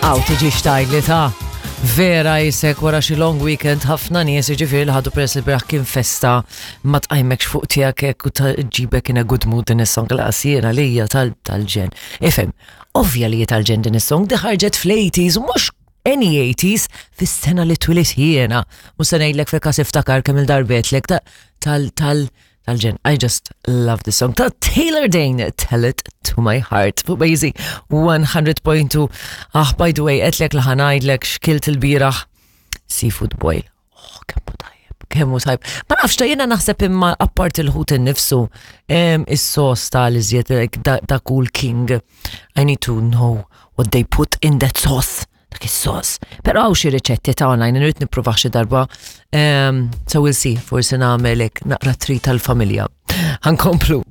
Aw tiġix tgħidli ta' vera jisek wara xi long weekend ħafna nies jiġifieri li ħadu peress li beraħ kien festa ma tqajmekx fuq tiegħek hekk u ġibek in a good mood din is-song laqas jiena lija tal-ġen. Ifhem, ovvja li tal-ġen din is-song di ħarġet fl-80s u mhux any 80s fis-sena li twilit jiena. Mhux se ngħidlek fil-każ iftakar kemm il-darbetlek tal tal tal-ġen. I just love this song. Ta' Taylor Dane, Tell It To My Heart. Fuq Bejzi 100.2. Ah, by the way, għetlek li ħanajdlek xkilt il-biraħ seafood boil. Oh, kemmu tajjeb, kemmu tajjeb. Ma nafx ta' jena naħseb imma appart il-ħut innifsu, is-sos tal-iżjed da, da cool king. I need to know what they put in that sauce dak is-sos. Però hawn xi riċetti ta' online irrid nippruvah xi darba. Um, so we'll see, forsi nagħmel hekk naqra tri tal-familja. Ħankomplu.